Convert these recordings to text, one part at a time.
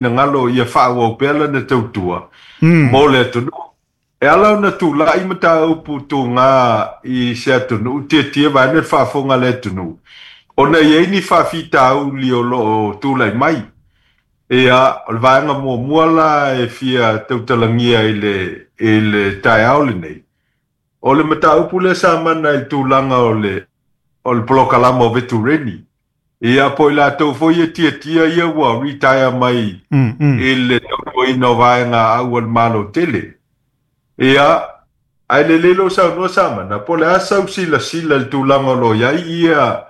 finagalo ia faaauau pea lana tautua mo le atunuu. E ala ona tulai mataupu tuga i se atunuu tietie vaeane le faafofoga a le atunuu, ona e i ai ni faafitauli o lo o tulai mai. Ia, o le vaega muamua la e fia tautalagia i le, i le taeao lenei, o le mataupu lea sa mana i le tulaga o le, o le polokalama o vetureni. Ia, po o i latou foi e tiatia ia ua retire mai i le tautuaina o vaega au a le Malo tele. Ia, ae lelei lou saunoa Samana, po o le a sau silasila i le tulaga o lo o i ai ia,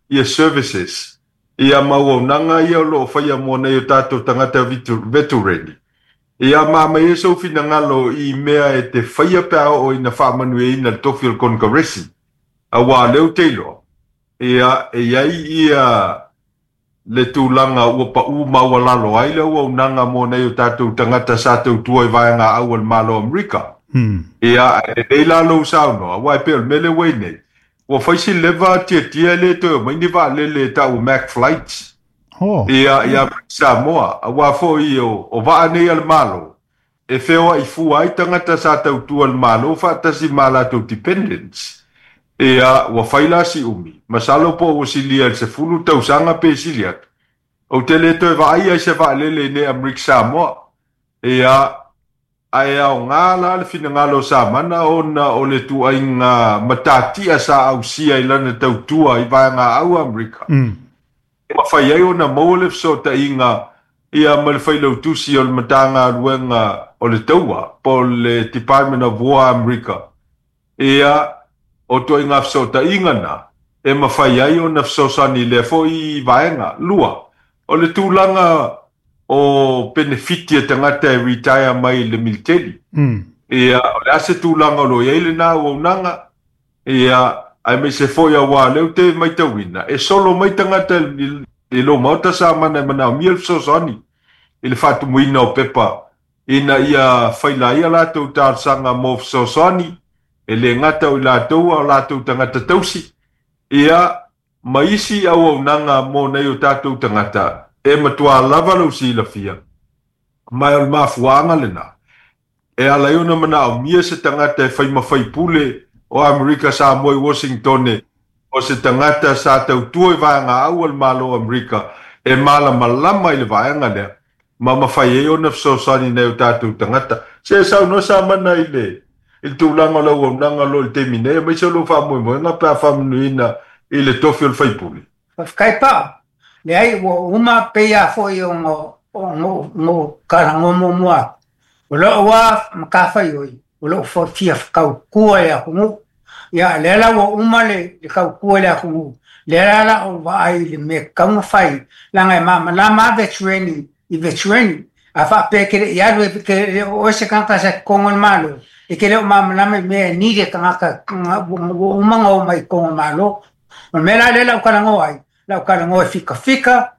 ia services, ia ma auaunaga ia o lo o faia mo nai o tatou tagata vetureni. Ia, ma aumai ai sou finagalo i mea e te faia pe a oo ina faamanuiaina le tofi o le Konekaresi, aua o lea ou te iloa, Ia, e i ai ia le tulaga ua pau maualalo ai le auaunaga mo nai o tatou tagata sa tautua i vaega au a le Malo o Amerika. Ia, ae lelei la lou saunoa, aua e pei o le mea lea ua i ai nei, ua fai si leva tiatia e le toe omai ni vaalele e tau o Mac Flights. Ia, i Amerika Samoa, aua foi o vaa nei a le Malo, e feoai fua ai tagata sa tautua i le Malo faatasi ma a latou dependents. Ia, ua fai la si umi, masalo po ua silia i le 10 tausaga pe sili atu, ou te le toe vaaia i se vaalele i nei Amerika Samoa. Ia, ae aoga la le finagalo o Samana ona o le ituaiga matatia sa ausia i lana tautua i vaegaau a Amerika, E mafai ai ona maua le fesootaiga ia ma le Failautusi o le Matagaluega o le Taua po o le Department of War a Amerika. Ia, o ituaiga fesootaiga na e mafai ai ona fesoasoani i lea foi vaega. 2, o le tulaga o penefiti a tagata e retire mai le militeli. Ia, o le a se tulaga o lo o i ai lena auaunaga? Ia, aemaise foi aua o lea ou te matauina, e solo mai tagata i lou maota Samana e manaomia le fesoasoani i le faatumuina o pepa ina ia faila ai a latou talosaga mo fesoasoani, e le gata o i latou a o latou tagata tausi, ia, ma isi auaunaga mo nai o tatou tagata e matua lava lou silafia, ma o le mafuaaga lena E ala ai ona manaomia se tagata e fai ma faipule o Amerika Samoa i Washingtone, o se tagata sa tautua i vaegaau a le Malo o Amerika e malamalama i le vaega lea ma mafai ai ona fesoasoani i nai o tatou tagata. Se saunoa Samana i le i le tulaga o le auaunaga o lo o i le taimi nei, aemaise o lou faamoemoega pe a faamanuiaina i le tofi o le faipule. Faafetai Pao. Leai, ua uma pei lava foi ona ou talanoa muamua atu, o lou lava matafaioi, o lou fia tautua i le atunuu. Ia, lea la ua uma le tautua i le atunuu, lea la o le a ou vaai i le mea e tatau ona fai, leaga e malamalama lava veterani i veterani. A faapea e te le i alu, e te le o oe se tagata sa i totonu o le Malo, e te le o malamalama i mea e need e tagata ua uma ona omai i totonu o le Malo. O le mea la lea o le a ou talanoa ai, o le a ou talanoa i fikafika,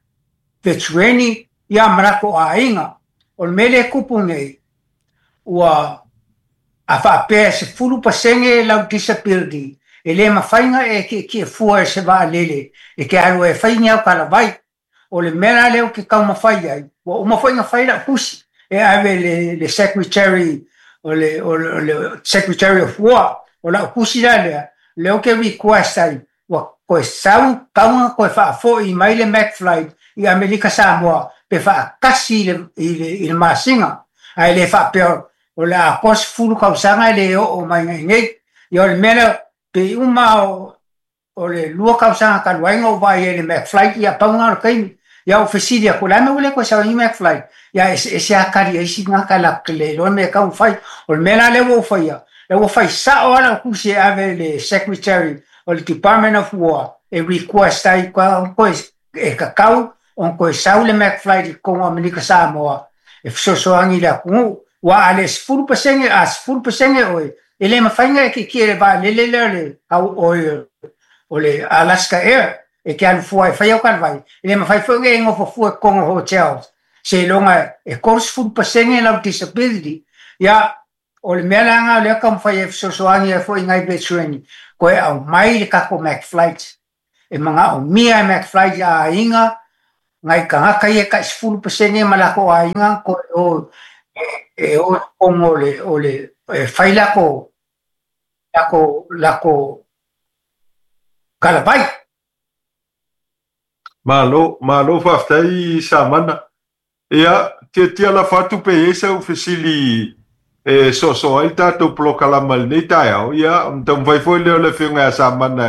veterani, ia ma latou aiga. O le mea lea e tupu nei, ua a faapea e 10% lau disability, e le mafai ona e tietie fua i se vaalele e te alu ai e fai ni au talavai. O le mea la lea ou te taumafai ai, ua uma foi ona fai lau tusi e ave i le Secretary o le, o le Secretary of War. O lau tusi la lea, lea ou te request ai, ua toe sau, tatau ona toe faafoi mai le Mac Flight i Amerika Samoa pe faatasi i le, i le, i le masina. Ae le faapea o le a atoa 10 tausaga e le oo mai i inei. Ia o le mea lea, pei uma o, o le 2 tausaga talu ai na ou vaai ai i le McFly, ia pau lena o le taimi. Ia ou fesili atu, o le a le mea ua le toe sau ai ni McFly? Ia eseese lava tali a isi tagata latou te le iloa le mea e tatau ona fai. O le mea la lea ua ou faia, lea ua fai sao lava lau tusi e ave i le Secretary o le Department of War e request ai toe e tatau ona toe sau le McFly i totonu o Amerika Samoa e fesoasoani i le atunuu. Aua a le 10%, a 10% oe, e le mafai ona e tietie i le vaalele lea o le, o le Alaska Air e te alu fua e fai au talavai. E le mafai foi ona e nofo fua i totonu o hotels seiloga e 30% lau disability. Ia, o le mea la lena o lea e taumafai e fesoasoani ai foi i nai veterani, toe aumai le tatou McFlight. E manaomia e McFly i aiga Nai tagata ia e tai 10% ma latou aiga toe o e o i totonu o le o le e fai latou latou latou galavai. Malo, malo faafetai Samana. Ia, tiatia lafo atu pe i ai sau fesili e soosoo ai le tatou polokalama i lenei taeao, ia, ona taumafai foi lea o le Afioga ia Samana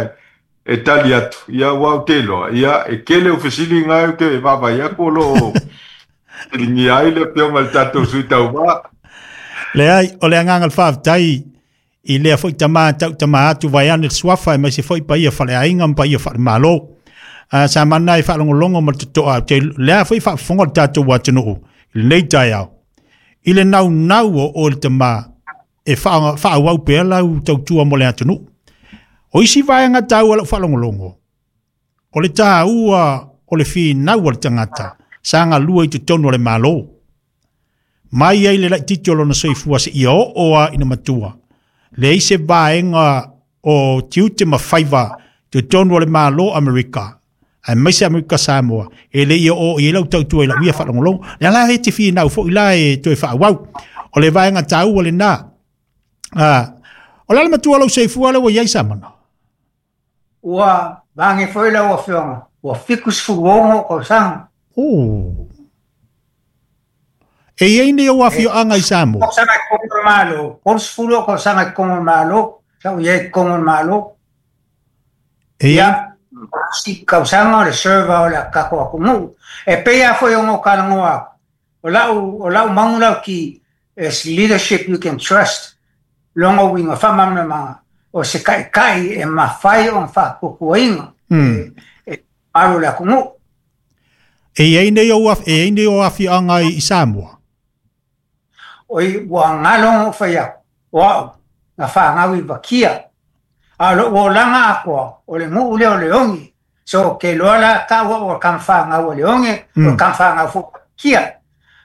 e tali atu, ia, aua ou te iloa, ia, e tele au fesili na ou te vaavaai atu o lo o fesiligia ai le Afioga i le tatou Sui Tauva. Leai, o le agaga o le faafetai i lea foi tama tau tama atu vaeane le suafa aemaise foi paia faaleaiga ma paia faalemalo. Sa mana e faalogologo ma le totoa, ou te lea foi faafofoga le tatou atunuu i lenei taeao i le naunau o oe le tama e faaauau pea lau tautua mo le atunuu. O isi vaega taua lau faalogologo, o le taua o le finau a le tagata sa galue i totonu o le Malo. Mai ai le laitiiti o lona soifua seia oo lava ina matua, leai se vaega o tiute ma faiva i totonu o le Malo Amerika, aemaise Amerika Samoa, e le i oo i ai lau tautua i lau ia faalogologo. Lea la e te finau foi la e toe faaauau. O le vaega taua lena. O le a le matua o lou soifua lea ua i ai Samana? Ua vage foi lau Afioga, ua 76 tausaga. Oh. E i ai nei ou afioaga i Samoa? Tausaga i totonu o le Malo, 30 tausaga i totonu o le Malo, sa ou i ai i totonu o le Malo. E i ai? Ia, isi tausaga o le server o le tatou atunuu. E pei lava foi ona ou talanoa atu, o lau, o lau manu lauti is leadership you can trust, lona uiga faamalamalamaga, o se taitai e mafai ona faatuatuaina e mamalu o le atunuu. E i ai nei ou, e i ai nei ou afioaga i Samoa? Oi, ua galo ona ou fai atu, o au, na fanau i Vakia. A o lou olaga atoa, o le nuu lea o Leone. So, ou te iloa la tau au o le tama fanau a Leone, o le tama fanau foi a Vakia.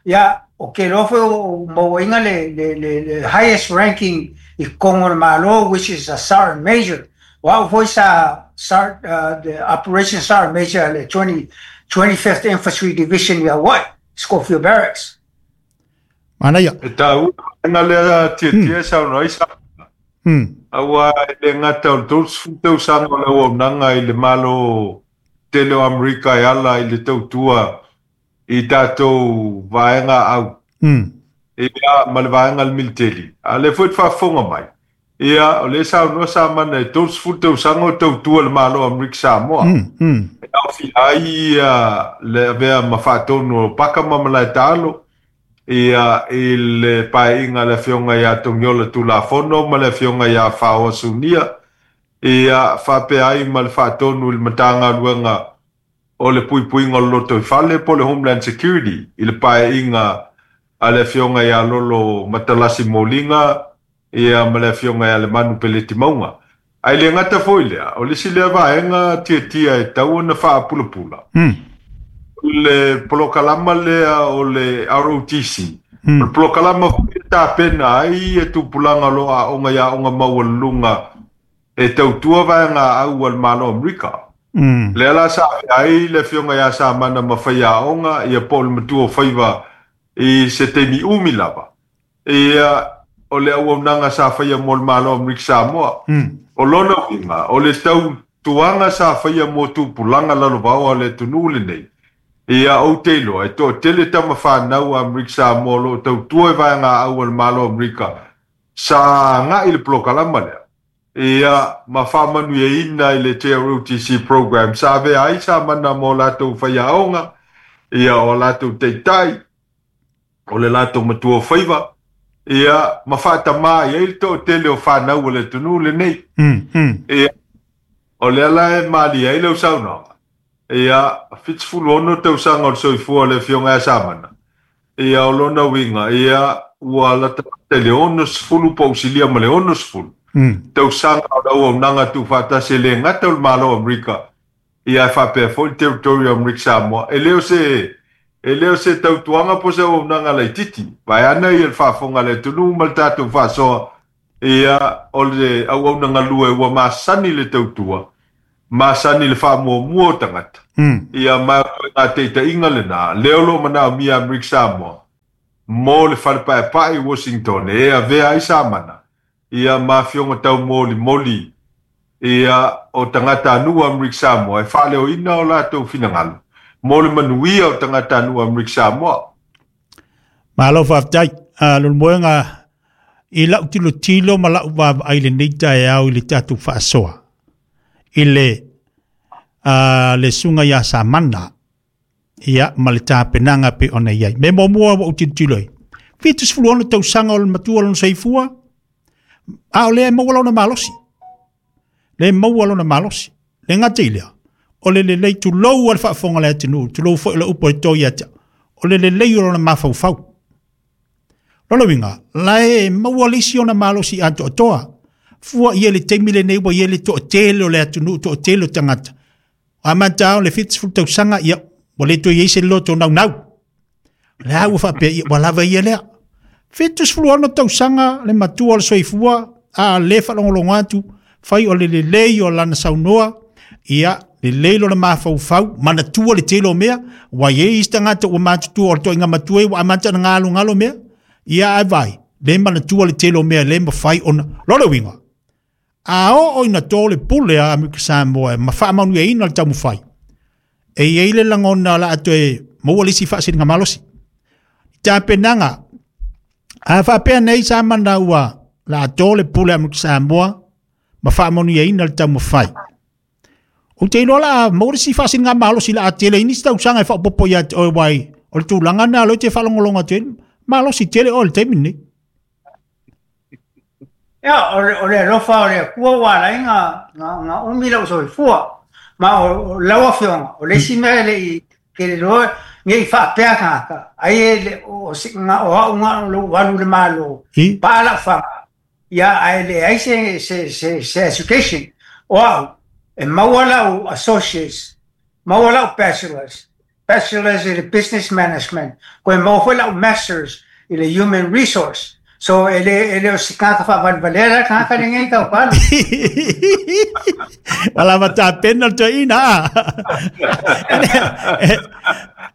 Ia, ou te iloa foi ua ou mauaina le, le, le, le highest ranking i totonu o le Malo, which is a Sergeant Major. O au foi sa start the Operation Sergeant Major a le 20, 25th Infantry Division i Hawaii, Schofield Barracks. Manaia. E taua vaega lea tiatia e saunoa ai Samana. Aua e le gata o le 30 tausaga o le auaunaga i le Malo tele o Amerika e ala i le tautua i tatou vaega au. Ia, ma le vaega a le militeli. A o lea foi e te faafofoga mai, ia, o lea e saunoa Samana e 30 tausaga o tautua le Malo o Amerika Samoa. E aofia ai ia le avea ma faatonu o Paka ma Malaetaalo, ia, i le paeaiga a le Afioga ia Togiola Tulafono ma le Afioga ia Faoa Sunia, ia, faapea ai ma le faatonu i le Matagaluega o le Puipuiga o le Lotoifale po o le Homeland Security i le paeaiga a le Afioga ia Lolo Matalasi Moliga ia ma le Afioga ia Lemanu Peleti Mauga. Ae le gata foi i lea, o le isi lea vaega tiatia e tatau ona faapulapula, o le polokalama lea o le ROTC, o le polokalama foi e tapena ai ia tupulaga o lo o aoga i aoga maualuluga e tautua vaega au a le Malo o Amerika. Lea la sa avea ai le Afioga ia Samana ma faiaoga ia po o le matua o faiva i se taimi umi lava. Ia, o le auaunaga sa faia mo le Malo o Amerika Samoa. O lona uiga, o le tautuaga sa faia mo tupulaga lalovaoa o le atunuu lenei, ia, ou te iloa, e toatele tama fanau a Amerika Samoa o lo o tautua i vaega au a le Malo o Amerika sa agai i le polokalama lea. Ia, ma faamanuiaina i le JROTC program sa avea ai Samana ma o latou faiaoga, ia, o a latou taitai, o le latou matua o faiva, ia, ma faatamā i ai le toatele o fanau a le atunuu lenei. Ia, o lea la e malie ai lau saunoaga, ia, 76 tausaga o le soifua o le Afioga ia Samana, ia, o lona uiga, ia, ua latalata i le 60 po o silia ma le 60 tausaga o le auaunaga tuufaatasi e le gata o le Malo o Amerika, ia ae faapea foi le Territory o Amerika Samoa. E le o se, e le o se tautuaga po o se auaunaga laitiiti, vaeane ia le faafofoga a le atunuu ma le tatou faasoa, ia, o le auauna galue ua masani le tautua. masani i le faamuamua o tagata. Ia ma o ituaiga taitaiga lenā lea o loo manaomia Amerika Samoa mo le falepaepae i Washington e avea ai Samana ia ma afioga taumolimoli ia o tagatanuu Amerika Samoa e faaleoina o latou finagalo mo le manuia o tagatanuu Amerika Samoa. Malo faafetai. Leulumoega, i lau tilotilo ma lau vaavaai lenei taeao i le tatou faasoa i le susuga ia Samana ia ma le tapenaga pe ona i ai. Me muamua ua ou tilotilo ai. 76 tausaga o le matua lona soifua, a o lea e maua lona malosi. Le maua lona malosi. Le gata i lea, o le lelei tulou a le faafofoga le atunuu, tulou foi le upu e to ia te au, o le lelei o lona mafaufau. Lona uiga, la e maua le isi ona malosi atoatoa. Fua ia le taimi lenei ua ia le toatele o le atunuu, toatele o tagata. A matau le 70 tausaga, ia, ua le toe i ai se loto naunau. Le a ua faapea, ia, ua lava ia lea. 76 tausaga le matua o le soifua, a le faalogologo atu, fai o le lelei o lana saunoa, ia, lelei lona mafaufau, manatua le tele o mea, ua i ai isi tagata ua matutua o le toaiga matua ua amata ona galogalo mea, ia ai vai, le manatua le tele o mea le mafai ona, lona uiga, a oo ina to le pule a Amerika Samoa ma faamanuiaina le taumafai, e i ai le lagona o le a toe maua le isi faasiliga malosi. Tapenaga, a faapea nei Samana ua la to le pule a Amerika Samoa ma faamanuiaina le taumafai. Ou te iloa la maua le isi faasiliga malosi la a tele i nisi tausaga e faaopoopo ia te oe wai o le tulaga lena o lea e te faalogologo atu ai, malosi tele oe i le taimi lenei. Ia, o le alofa o le Atua ua ala ai na umi lau soifua. Ma o lau afioga, o le isi mea e le i tele loa nei faapea tagata, ai e le o o au na o lou alu i le Malo, paa lau faga, ia ae leai se education. O au, e maua lau associates, maua lau bachelors i le business management, koe maua foi lau masters i le human resource. So e le o se tagata faavalevalea la tagata lenei tau palo. Wala ma tapena le toeaina a.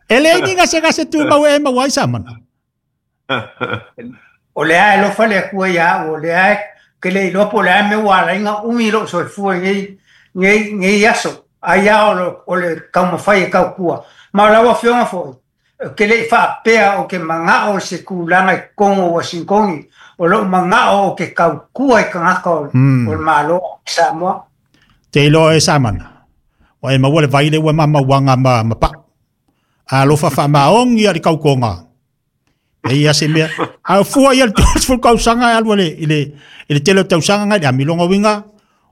E leai ni gasegase tumau e maua ai Samana. O lea e alofa le Atua ia au, o lea e ke le iloa po o le a mea ua ala ai na umi lou soifua i nei aso. Ai a o le taumafai e tautua. Ma o lau afioga foi, ke le i faapea o ke manao o se tulaga i totonu o Uasintoni, o lou manao o ke tautua i tagata o le Malo o Samoa. Te iloa e Samana. Ua e maua le vai le ua mamauaga ma pau. Alofa faamaogi a le kautoga. E ia se mea. A fua ia le 30 tausaga e alu i le tele o tausaga ngai le amiloga uiga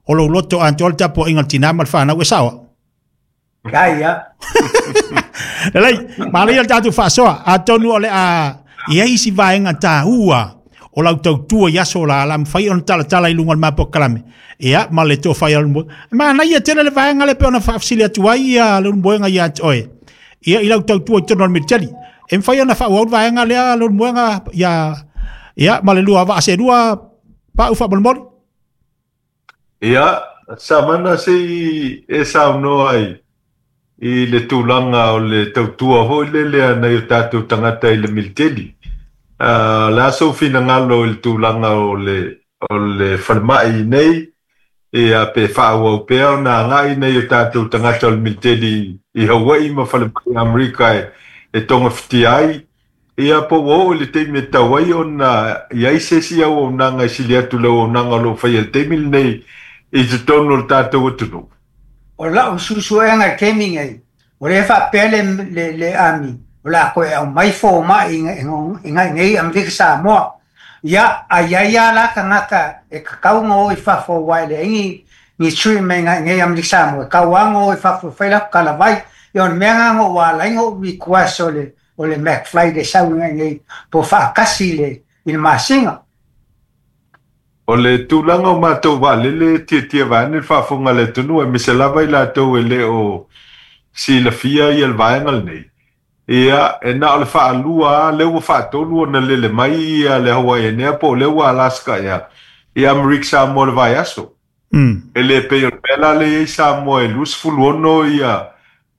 o lou loto atoa le tapuaiga le tinā ma le fanau e saoa. Ia ia. Lelei, manaia le tatou faasoa. Atonu o le a i ai isi vaega taua o lau tautua i aso la la mafai ona talatala i luga o le mapokalame. Ia, ma le tofa ia le manaia tele le vaega le pe ona faafesili atu ai ia Leulumoega ia te oe. Ia i lau tautua i totonu o le militeli. E mafai ona faaauau le vaega lea Leulumoega ia ia ma le lua vaa se lua pau faamolemole. Ia, Samana se i e saunoa ai i le tulaga o le tautua foi lele nai o tatou tagata i le militeli. Le a sou finagalo i le tulaga o le falemai nei, ia pe faaauau pea ona agai nei o tatou tagata o le militeli i Hawaii ma falemai Amerika e togafitia ai. Ia po ua oo i le taimi e tatau ai ona i ai se isi auaunaga e sili atu le auaunaga o lo o faia i le taimi lenei i totonu o le tatou atunuu. O lau suesuega i taimi nei, o lea faapea le army, o le a toe aumai fomai i nai nei Amerika Samoa. Ia, ai ai a la tagata e tatau ona o i fafo aua e leai ni treatment nai nei Amerika Samoa, e tatau lava ona o i fafo e fai latou talavai. Ia o le mea lena na ou ala ai na ou request o le McFly e sau i nai nei po faatasi i le masina. O le tulaga o matou vaalele tiatia vaeane le faafofoga a le atunuu aemaise lava i latou e le o silafia ia le vaega lenei. Ia, e na o le faalua lava lea ua faatolu ona lele mai ia le Hawaiian Air po o lea ua Alaska Air i Amerika Samoa le vaiaso. E le pei o le mea la lea e i ai Samoa e 26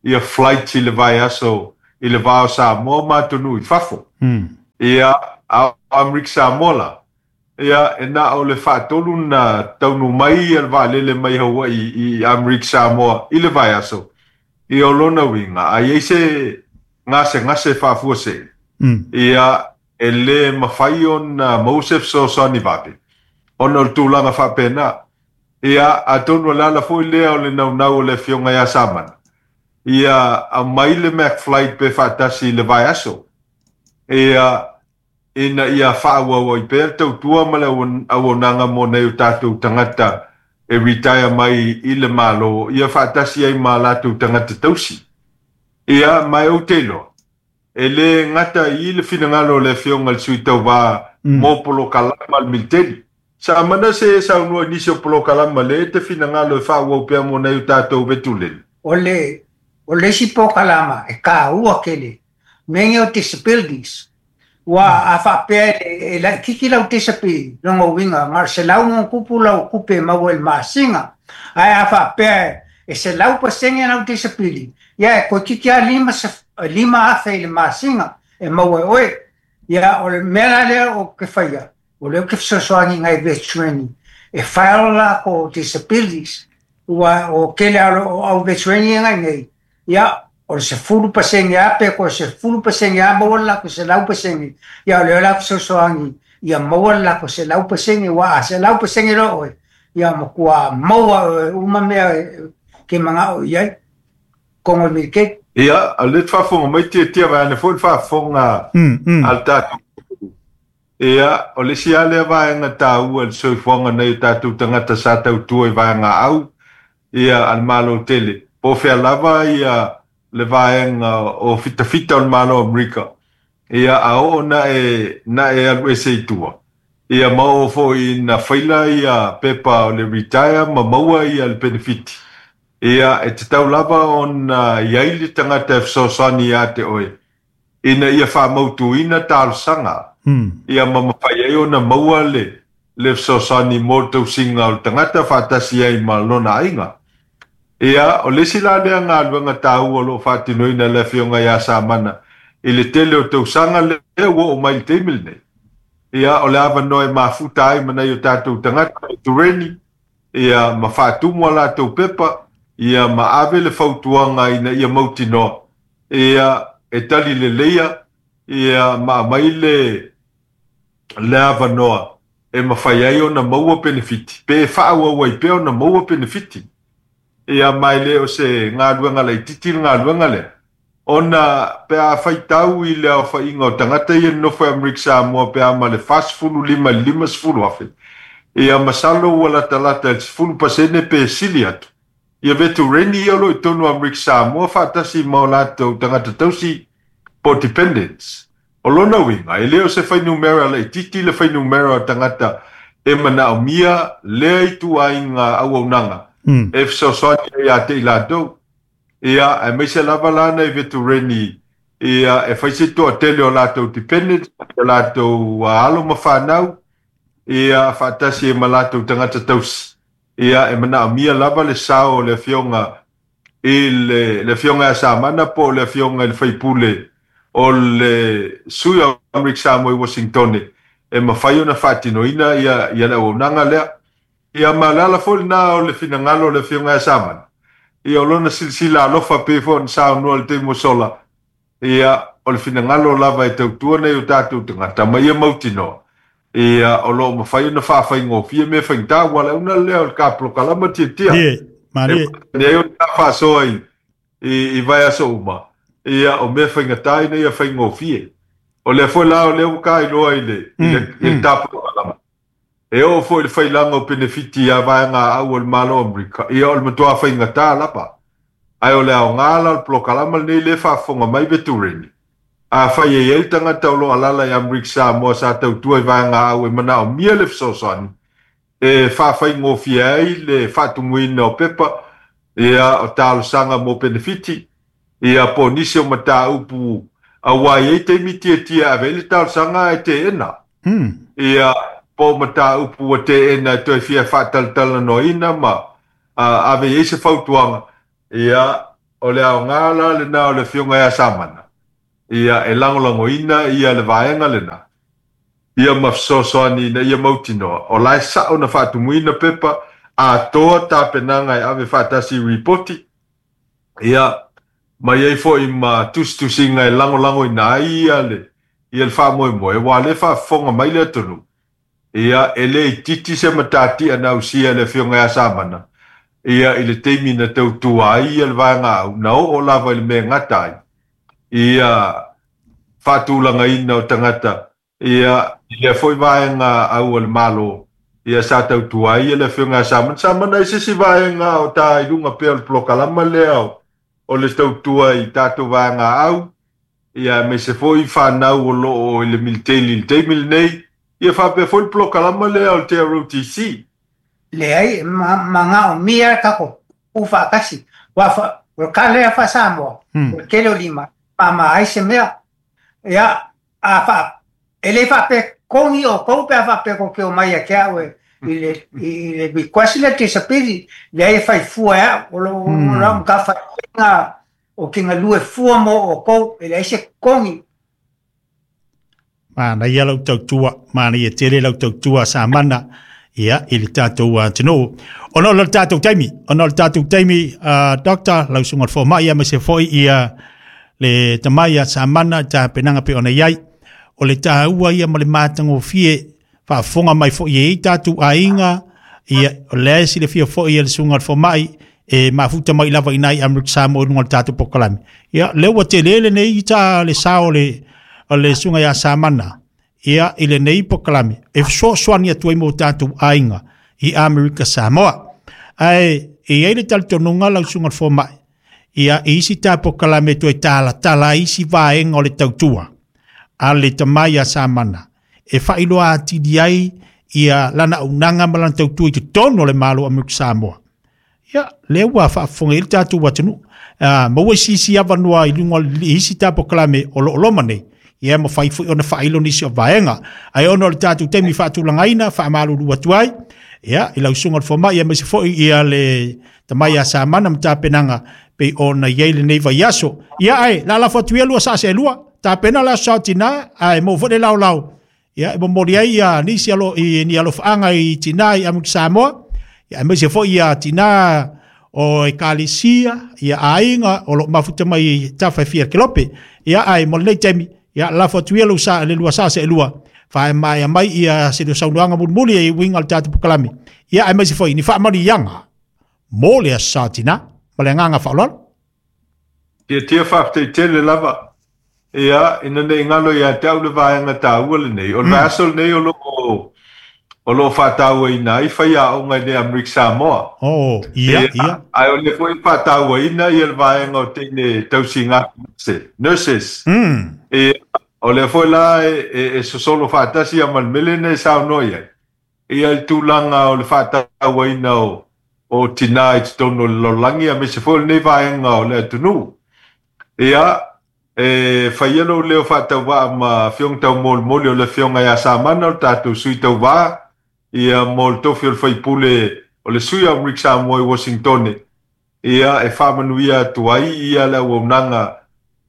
ia flights i le vaiaso i le va o Samoa ma atunuu i fafo. Ia, a o Amerika Samoa la, ia, e na o le faatolu na taunuu mai le vaalele mai Hawaii i Amerika Samoa i le vaiaso. Ia, o lona uiga, a i ai se gasegase faafuasei, ia, e lē mafai ona maua se fesoasoani vave ona o le tulaga faapena. Ia, atonu o le ala foi lea o le naunau o le Afioga ia Samana, ia aumai le Mac Flight pe faatasi i le vaiaso, ia, ina ia faaauau ai pea le tautua ma le auaunaga mo nai o tatou tagata e retire mai i le Malo, ia faatasi ai ma latou tagata tausi. Ia, ma e ou te iloa, e lē gata i le finagalo o le Afioga i le Sui Tauvā mo polokalama a le militeli. Sa mana se e saunoa i nisi o polokalama lea e te finagalo e faaauau pea mo nai o tatou vetuleni. O le isi polokalama e taua tele mea nei o disabilities, ua a faapea e laitiiti lau disability, lona uiga na o le 100+ lau tupe e maua i le masina, ae a faapea e 100% lau disability, ia, e toeitiiti lava 5,000 i le masina e maua e oe. Ia, o le mea la lea ou te faia, o lea ou te fesoasoani i nai veterani e file latou disabilities, ua o tele o au veterani ia nai nei, ia, o le 10% a pe toe 10% a maua le latou 100%. Ia, o lea o le a fesoasoani ia maua le latou 100%, ua a 100% loa oe, ia matua maua oe uma mea ke manao i ai kogo militeli. Ia, o le faafofoga mai tiatia vaeane foi le faafofoga a le tatou. Ia, o le isi lava lea vaega taua i le soifuaga nei o tatou tagata sa tautua i vaega au, ia, a le Malo tele. Po o fea lava ia le vaega o fitafita o le Malo o Amerika. Ia, a oo na e alu ese i tua, ia, ma oo foi na faila ia pepa o le retire ma maua ia le penefiti. Ia, e tatau lava ona i ai le tagata e fesoasoani ia te oe ina ia faamautuina talosaga. Ia, ma mafai ai ona maua le fesoasoani mo le tausiga o le tagata faatasi ai ma lona aiga. Ia, o le isi la lea galuega taua o loo faatinoina le Afioga ia Samana i le tele o tausaga lea ua oo mai i le taimi lenei. Ia, o le avanoa e mafuta ai ma nai o tatou tagata tureni, ia, ma faatumu a latou pepa, ia, ma ave le fautuaga ina ia mautinoa, ia, e tali leleia, ia, ma aumai le avanoa e mafai ai ona maua penefiti pe faaauau ai pea ona maua penefiti. Ia, ma e le o se galuega laitiiti le galuega lea, ona pe a faitau i le aofaiga o tagata ia nofo i Amerika Samoa pe a ma le 45 i le 50,000, ia, masalo ua latalata i le 10% pe sili atu ia veterani ia o lo o i totonu o Amerika Samoa faatasi ma o latou tagata tausi po dependents. O lona uiga, e le o se fuainumera laitiiti le fuainumera o tagata e manaomia lea ituaiga auaunaga e fesoasoani ai ia te i latou. Ia, aemaise lava la nai veterani, ia, e fai se toatele o latou dependents, o latou alo ma fanau, ia, faatasi ai ma latou tagata tausi. Ia, e manaomia lava le sao o le Afioga i le Afioga ia Samana po o le Afioga i le Faipule o le sui o Amerika Samoa i Washington e mafai ona faatinoina ia le auaunaga lea. Ia, ma le ala foi lena o le finagalo o le Afioga ia Samana. Ia, o lona silasila alofa pei foi ona saunoa i le taimi ua sola. Ia, o le finagalo lava e tautua nei o tatou tagata ma ia mautinoa, ia, o lo o mafai ona faafaigofie mea faigata, ua le auna lea o le kapolokalama tiatia. Ie, malie. E ai o le faasoa i vaiaso uma. Ia, o mea faigata ina ia faigofie. O lea foi la o lea ua kailoa i le tapolokalama. E oo foi i le failaga o penefiti ia vaega au o le Malo o Amerika. Ia, o le matua faigata lava. Ae o le aoga la o le polokalama lenei le faafofoga mai veterani. A fai e ai le tagata o lo o alala i Amerika Samoa sa tautua i vaega au e manaomia le fesoasoani e faafaigofie ai le faatumuina o pepa, ia, o talosaga mo penefiti, ia, po o nisi o mataupu, auā e i ai taimi tiatia e ave ai le talosaga ae teena. Ia. Po o mataupu ua teena e toe fia faatalatalanoaina ma ave i ai se fautuaga, ia, o le aoga la lena o le Afioga ia Samana, ia, e lagolagoina ia le vaega lena, ia ma fesoasoani ina ia mautinoa o la e sao na faatumuina pepa atoa tapenaga e ave faatasi i ripoti, ia, ma i ai foi ma tusitusiga e lagolagoina ai ia le ia le faamoemoe, aua o lea e faafofoga mai le atunuu, ia, e le itiiti se matatia na ausia e le Afioga ia Samana, ia, i le taimi na tautua ai ia le vaega au, na oo lava i le mea e gata ai, ia, faatulagaina o tagata, ia, i lea foi vaega au a le Malo, ia, sa tautua ai ia le Afioga ia Samana. Samana, i se isi vaega o ta i luga pea o le polokalama lea o le tautua i tatou vaega au, ia, aemaise foi fanau o lo o i le militeli i le taimi lenei, ia faapea foi le polokalama lea o le JROTC. Leai, e manaomia le tatou pupuu faatasi. Aua o le tala lea faa-Samoa, o le tele o lima, mama ai se mea. Ia, a faa, e le faapea totogi outou pe a faapea tou te omai ia te au e i le, i le request lea disability, leai e fai fua e au, o lou matafaioi ou te galue fua mo outou, e leai se totogi. Manaia lau tautua, manaia tele lau tautua Samana, ia, i le tatou atunuu. Ona o le tatou taimi, ona o le tatou taimi, Doctor, lau susuga i le fomai, aemaise foi ia le tama ia Samana i tapenaga pei ona i ai. O le taua ia ma le matagofie faafofoga mai foi e i tatou aiga, ia, o lea e silafia foi e le susuga i le fomai, e mafuta mai lava i nai Amerika Samoa i luga o le tatou polokalame. Ia, lea ua tele lenei ta le sao o le susuga ia Samana, ia, i lenei polokalame, e fesoasoani atu ai mo tatou aiga i Amerika Samoa. Ae, e i ai le talitonuga lau susuga i le fomai, ia, i isi ta polokalame toe talatala ai isi vaega o le tautua a le tama ia Samana, e faailoa atili ai ia lana auaunaga ma lana tautua i totonu o le Malo o Amerika Samoa. Ia, lea ua faafofoga i ai le tatou atunuu. Maua isi avanoa i luga o isi ta polokalame o lo o loma nei, ia mafai foi ona faailo nisi o vaega. Ae ona o le tatou taimi faatulagaina, faamalulu atu ai, ia, i lau susuga i le fomai, aemaise foi ia le tama ia Samana ma tapenaga pei ona i ai lenei vaiaso. Ia, ae lalafo atu ia lua saa se lua, tapena le aso saotina, ae maua foi le laolao. Ia, e momoli ai ia nisi alo, i, ni alofaaga i tina i Amerika Samoa, ia, aemaise foi ia tina o ekalesia, ia aiga o lo mafuta mai i tafa e fia kelope. Ia, ae mo lenei taimi, ia, lafo atu ia lou sa, le lua saa se lua, faemaea mai ia se saunoaga mulimuli e uiga o le tatou polokalame. Ia, aemaise foi ni faamanuiaga mo le aso saotina, ma le agaga faaaloalo. Tiatia faafetai tele lava. Ia, ina nei galo ia te au le vaega taua lenei. O le vaiaso lenei o lo o faatauaina ai faiaoga i le Amerika Samoa. Oh, ia, ia. Ae o le foi faatauaina ia le vaega o teine tausiga nurses. Ia, o lea foi la e sosolo faatasi ia ma le mele nei saunoa i ai. Ia i tulaga o le faatauaina o tina i totonu o le lalolagi, aemaise foi o lenei vaega o le atunuu. Ia, e fai ia lou leo faatauvaa ma Afioga Taumolimoli o le Afioga ia Samana, o le tatou sui tauvā, ia mo le tofi o le faipule o le sui o Amerika Samoa i Washingtone. Ia, e faamanuia atu ai ia le auaunaga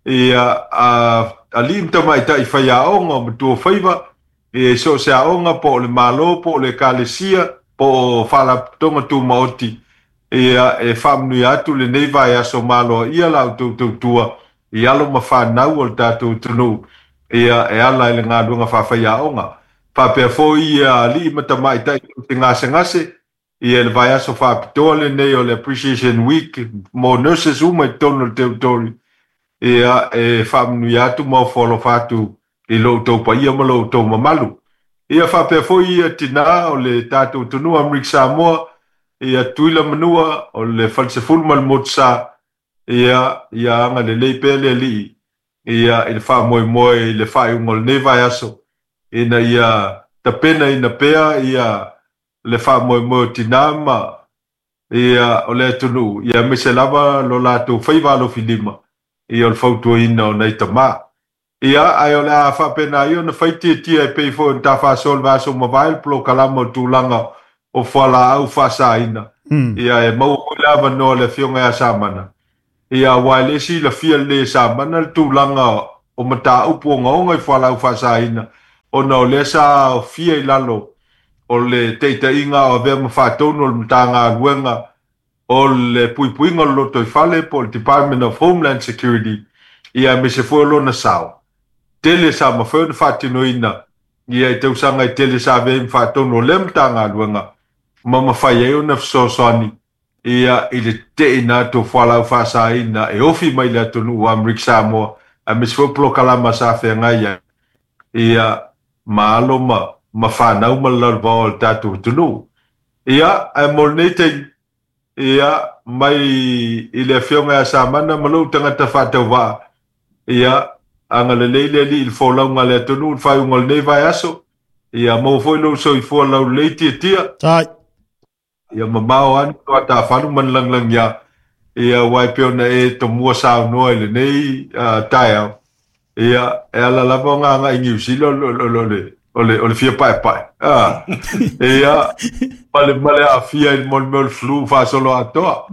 ia a alii ma tamaitai faiaoga o matua faiva, ia i so o se aoga po o le Malo, po o le ekalesia, po o faalapotopotoga tumaoti, ia e faamanuia atu lenei vaiaso maloa ia la outou tautua i alo ma fanau o le tatou atunuu, ia e ala i le galuega faafaiaoga. Faapea foi ia alii ma tamaitai te gasegase, ia le vaiaso faapitoa lenei o le Appreciation Week mo nurses uma i totonu o le territory, ia e faamanuia atu ma ofo alofa atu i lo outou paia ma lo outou mamalu. Ia faapea foi ia tina o le tatou atunuu Amerika Samoa, ia Tuila Manua o le Falesefulu ma le Motusa, ia ia agalelei pea le Alii ia i le faamoemoe i le faaiuga o lenei vaiaso, ina ia tapenaina pea ia le faamoemoe o tina ma ia o le atunuu, ia aemaise lava lo latou faiva alofilima ia o le fautuaina o nai tama. Ia, ae o le a faapena ia ona fai tiatia e pei foi ona ta faasoa i le vaiaso ua mavae le polokalama o le tulaga o fualaau faasaina. Ia, e maua foi le avanoa i le Afioga ia Samana, ia, aua e le silafia lelei e Samana le tulaga o mataupu ogaoga i fualaau faasaina, ona o lea sa aofia i lalo o le taitaiga a o avea ma faatonu o le Matagaluega o le Puipuiga o le Lotoifale po o le Department of Homeland Security, ia aemaise foi o lona sao tele sa mafai ona faatinoina ia i tausaga e tele sa avea ai ma faatonu o lea Matagaluega ma mafai ai ona fesoasoani ia i le tete'ina atu o fualaau faasaina e ofi mai le atunuu o Amerika Samoa aemaise foi o polokalama sa feagai ai ia ma alo ma fanau ma le lalovaoa o le tatou atunuu. Ia, ae mo lenei taimi, ia, mai i le Afioga ia Samana ma lou tagata faatauvaa, ia, agalelei le Alii i le folauga a le atunuu i le faaiuga o lenei vaiaso, ia maua foi lou soifua laulelei tiatia. Tai. Ia mamao ane lo atafalu ma le lagilagi ia, aua e pei ona e tomua saunoa i lenei taeao, ia, e ala lava ona agai i Niu Sila o le fia paepae. Ia, ma le aafia i le mea o le flu faasoloatoa.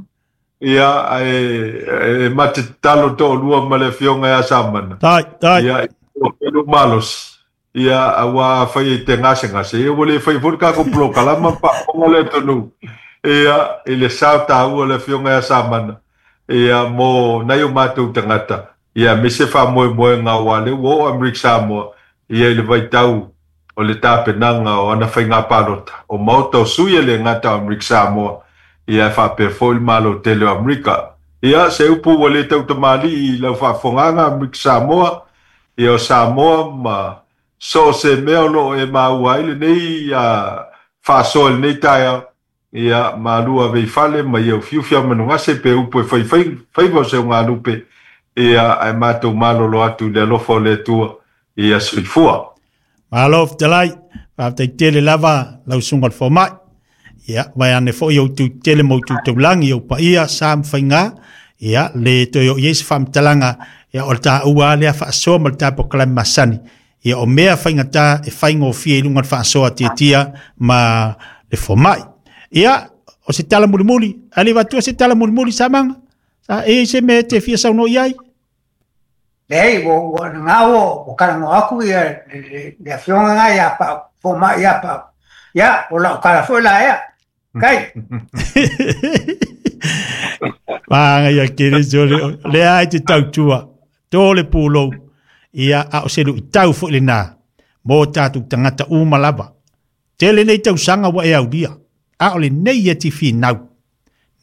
Ia, ae ma te tatalo toalua ma le Afioga ia Samana. Tai, tai. Ia, o malosi. Ia, aua afai e te gasegase, ia ua le faia foi le tatou polokalama ma faafofoga le atunuu. Ia, i le sao taua o le Afioga ia Samana, ia, mo nai o matou tagata, ia, aemaise faamoemoega aua o lea ua oo Amerika Samoa, ia, i le vaitau o le tapenaga o ana faiga palota, o Maota o Sui e le gata o Amerika Samoa, ia, e faapea foi le Malo tele o Amerika. Ia, se upu ua le tautamalii i lau faafofogaaga Amerika Samoa, ia o Samoa ma so o se mea o lo o e maua ai lenei faasoa i lenei taeao, ia malu ave i fale ma ia ufiufi a manugase pe upu e fai faiva o se ugalupe, ia ae matou malolo atu i le alofa o le Atua, ia soifua. Malo fetalai, faafetai tele lava lau susuga i le fomai. Ia, vaeane foi ou tu tele ma ou tu taulagi, ou paia, sa ma faiga, ia, le toe oo i ai se faamatalaga, ia, o le taua lava lea faasoa ma le tatou polokalame masani. Ia, o mea faigata e faigofie i luga o le faasoa tiatia ma le fomai. Ia, o se tala mulimuli, ae le i avatua se tala mulimuli Samaga, sa e i ai se mea e te fia saunoa i ai? Leai, ua na ua talanoa atu ia le afioga lena ia Pau, fomai ia Pau. Ia, o lau tala foi la ea. Kai. Maga ia Keriso, lea ai te tautua, tō le pūlou, ia a o se luitau foi lena, mō tātou tagata uma lava. Tele nei tausaga ua e aulia, a o lenei e te finau,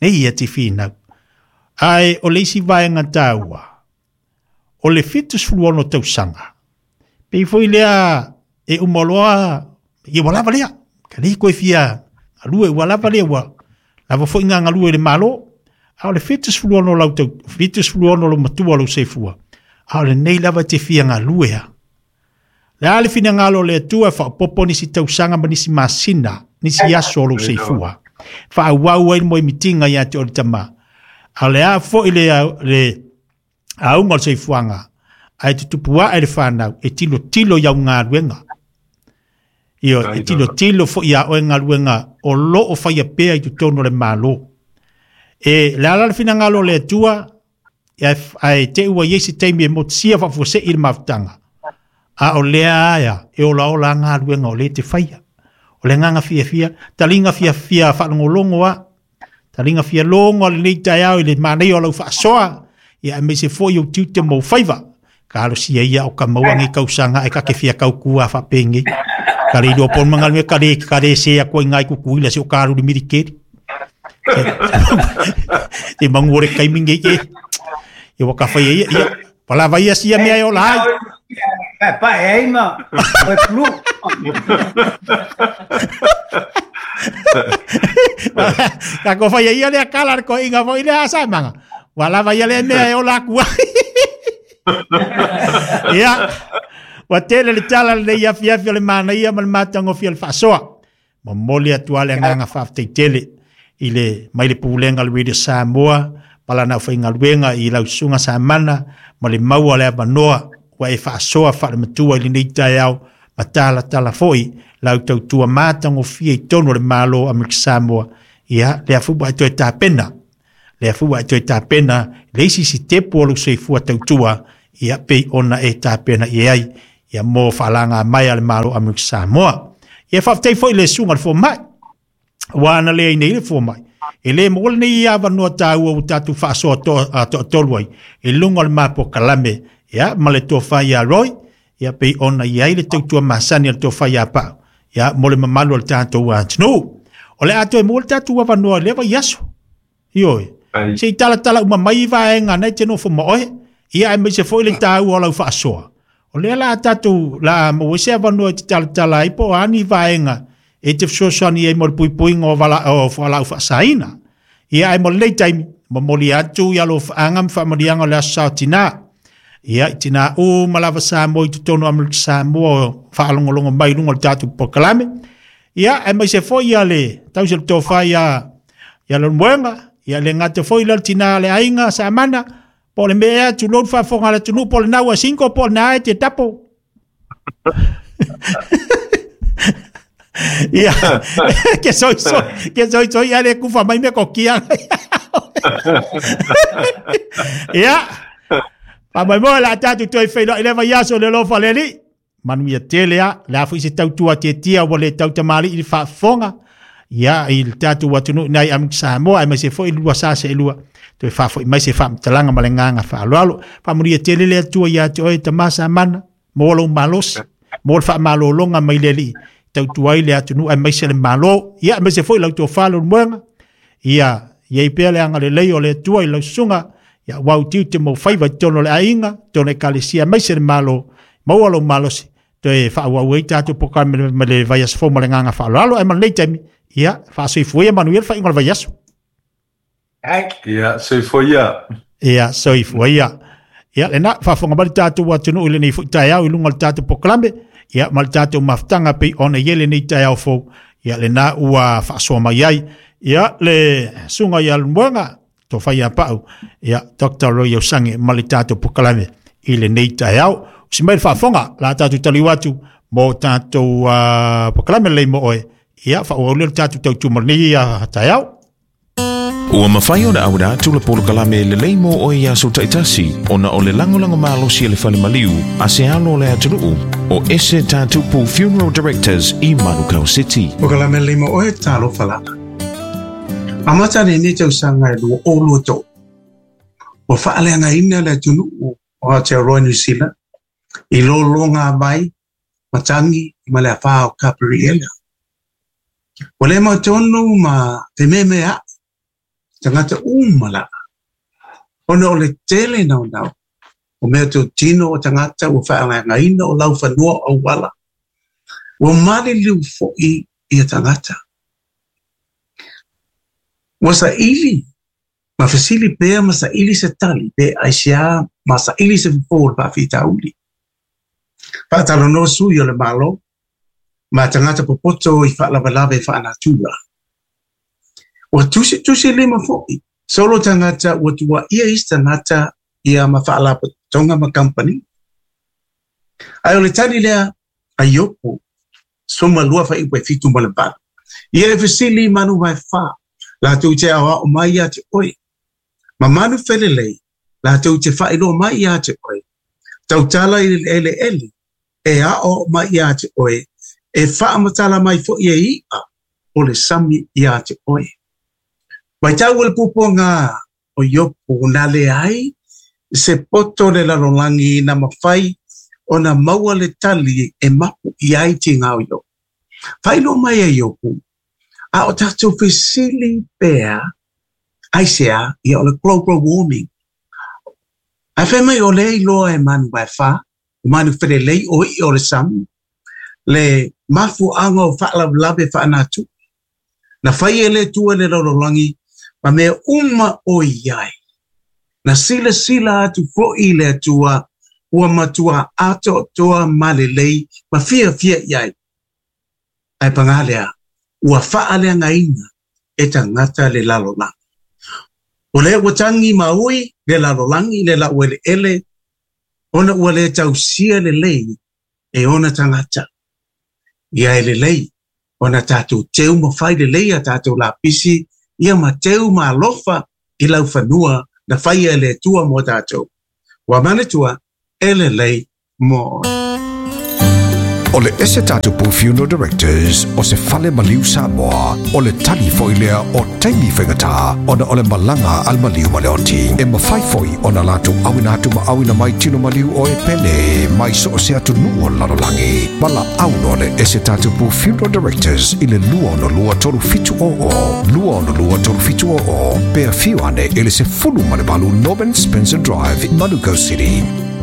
nei e te finau. Ae o le isi vaega taua, o le 76 tausaga, pei foi lea e uma loa, ia ua lava lea, ka le koe fia galue, ua lava lea, ua lava foi ngā galue i le Malo. A o le 76 lau tau, 76 lou matua lou seifua, a o lenei lava te fia galue a. Le a le finagalo o le Atua e faaopoopo nisi tausaga ma nisi masina, nisi aso o lou seifua. Faaauau ai le moemitiga ia te oe le Tama. A o le a foi le, le auga o le soifuaga, ae tutupu ae le fanau e tilotilo i au galuega. Ioe, e tilotilo foi ia oe galuega o lo o faia pea i totonu o le Malo. E le ala le finagalo o le Atua, ae te ua i ai se taimi e motusia faafuasei le mafutaga, a o lea aia e olaola a galuega o lea e te faia. O le agaga fiafia, taliga fiafia faalogologo a, taliga fia logo a lenei taeao i le manaia o lau faasoa, ia aemaise foi ou tiute ma ou faiva. Talosia ia o ka maua nei tausaga ae ka te fia tautua faapenei. Ka le iloa pona mangalume ka le ka le se atu ai ngai Tutuila se o ka alu i le militeli. Te mangu o le taimi nei e. Ia ua ka fai e ia, ia palava ia sia mea e ola ai. Pae pae ai ma oe plu. Ka ko fai e ia lea kala le koiga foi lea a Samaga. Ua lava ia lea mea e ola atu ai. Ia, ua tele le tala lenei afiafi o le manaia ma le matagofie o le faasoa. Momoli atu lava le agaga faafetai tele i le mai le Pulega o le Radio Samoa ma lana aufaigaluega i lau Susuga Samana ma le maua o le avanoa. ua e faasoa faalematua i lenei taeao ma talatala foi lau tautua matagofie i totonu o le Malo o Amerika Samoa. Ia, lea foi ua e toe tapena, lea foi ua e toe tapena le isi sitepu o lou soifua tautua, ia pei ona e tapena i ai, ia mo faalaga mai a le Malo o Amerika Samoa. Ia faafetai foi i le susuga i le fomai, ua ana le ai nei le fomai, e le maua lenei avanoa taua ua tatou faasoa toatolu ai i luga o le mapua kalame, ia ma le tofa ia Roy, ia pei ona i ai le tautua masani a le tofa ia Pau, ia mo le mamalu o le tatou atunuu. O le a toe maua le tatou avanoa i lea vaiaso. Ioe. Se i talatala uma mai vaega na e te nofo ma oe, ia aemaise foi le taua o lau faasoa. O lea la tatou la maua se avanoa e te talatala ai po o a ni vaega e te fesoasoani ai mo le puipuiga o vala o fualaau faasaina. Ia ae mo lenei taimi, momoli atu i alofaaga ma faamanuiaga o le aso Sa o Tinā. Ia i tinā uma lava Samoa i totonu o Amerika Samoa o faalogologo mai i luga o le tatou polokalame. Ia aemaise foi ia le tausi o le tofa ia Leulumoega, ia le gata foi lea o le tinā le aiga Samana, po o le mea ea tulou le faafofoga a le atunuu, po o le nau a single, po o le na e te tapo. Ia, ke soi soi, ke soi soi ale kufa mai me kokia. Ia, pa mai mo la tatu toi whailo i le vaiaso le lofa le li. Manuia tele a, le a foi se tautua tietia ua le tautamali i le faafofoga. Ia, i le tatou atunuu nai Amerika Samoa, aemaise foi lua sa se lua. Toe faafoi mai se faamatalaga ma le agaga faaaloalo. Faamanuia tele le Atua ia te oe tama Samana, mo lou malosi, mo le faamalologa mai le Alii, tautua ai le atunuu aemaise le Malo. Ia, aemaise foi lau tofa Leulumoega. Ia, iai pea le agalelei o le Atua i lau susuga, ia ua utiu te mau faiva i totonu o le aiga, totonu o le ekalesia, aemaise le Malo, maua lou malosi, toe faaauau ai tatou polokalame ma le vaiaso fou ma le agaga faaaloalo. Ae ma lenei taimi, ia, faasoifua ia manuia le faaiuga o le vaiaso. Ia, soifua ia. Ia, soifua ia. Ia, lena, faafofoga mai le tatou atunuu i lenei foi taeao i luga o le tatou polokalame, ia, ma le tatou mafutaga pei ona i ai lenei taeao fou, ia, lena ua faasoa mai ai, ia, le susuga ia Leulumoega, tofa ia Pau, ia, Dr. Roy Osange ma le tatou polokalame i lenei taeao. Usi mai le faafofoga, la tatou taliu atu mo tatou polokalame lelei mo oe, ia, faaauau lea le tatou tautua mo lenei taeao. Ua mafai ona auina atu le polokalame lelei mo oe i aso taitasi ona o le lagolago malosi a le fale maliu a se alo o le atunuu o Ese Tatupu Funeral Directors i Manukau City. Polokalame lelei mo oe, talofa lava. Amata lenei tausaga e 2023, ua faaleagaina le atunuu o Aotearoa New Zealand i lologa vai, matagi ma le afā o Kaperiela. Ua le mautonu ma fememea'i tagata uma lava, ona o le tele naunau o mea totino o tagata ua faaleagaina o laufanua o auala, ua maliliu foi ia tagata. Ua saili ma fesili pea ma saili se tali pe aisea ma saili se fofo o le faafitauli. Faatalanoa sui o le Malo ma tagata popoto i faalavelave faanatura. Ua tusitusi lima foi solo tagata ua tuuaia isi tagata ia ma faalapotopotoga ma kamupani. Ae o le tali lea a Iopo 12 fuaiupu e 7 ma le 8. Ia e fesili i manu vaefa, latou te aoao mai ia te oe, ma manu felelei, latou te faailoa mai ia te oe. Tautala i le eleele, e aoao mai ia te oe, e faamatala mai foi e i'a o le sami ia te oe. Matau le puapuaga o Iopo na leai se poto o le lalolagi na mafai ona maua le tali e mapu i ai tiga o Iopo. Faailoa mai e Iopo, a o tatou fesili pea aisea, ia o le global warming. Ae fai mai o lea iloa e manu vaefa, o manu felelei o i'a o le sami, le mafuaaga o faalavelave faanatura. Na fai e le Atua le lalolagi ma mea uma o i ai. Na silasila atu foi le Atua ua matua atoatoa ma lelei ma fiafia i ai. Ae paga lea, ua faaleagaina e tagata le lalolagi. O lea ua tagi ma ui le lalolagi le laueleele Ona ua lē tausia lelei e ona tagata. Ia e lelei ona tatou teu ma fai lelei a tatou lapisi ia ma teu ma alofa i laufanua na faia e le Atua mo tatou. Ua manatua e lelei mo oe. O le Ese Tatupu Funeral Directors o se fale maliu Samoa, o le tali foi lea o taimi faigata ona o le malaga a le maliu ma le oti. E mafai foi ona latou auina atu ma auina mai tino maliu o e pele mai so o se atunuu o le lalolagi. Valaau loa le Ese Tatupu Funeral Directors i le 262 3700, 262 3700, pe afio ane i le 18 Norman Spencer Drive, Manukau City.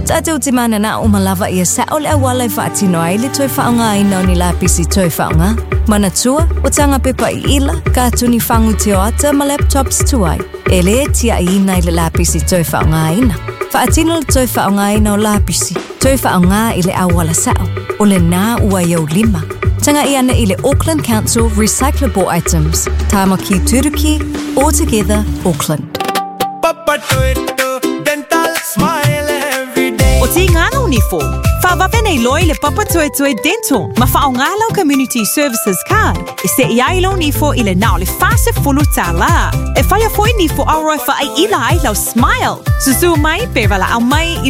Tatou te mananao uma lava ia sao le auala e faatino ai le toe faaaogaina o ni lapisi toe faaaoga. Manatua, o taga pepa iila, katuni fagu tioata ma laptops tuai, e lē tiaʻiina i le lapisi toe faaaogaina. Faatino le toe faaaogaina o lapisi, toe faaaoga i le auala sao, o lenā ua i ou lima. Tagaʻi ane i le Auckland Council Recyclable Items, Tāmaki Turuki, All Together Auckland. O Tīngana o Nifo, Whaavave nei loa i le Papa Tuetue Dental ma whaonga lau Community Services Card e seʻi ai lou nifo i le na o le 40 tālā. E whaia foi nifo aroa e whaai ila ai lau smile. Susū mai pe valaau mai i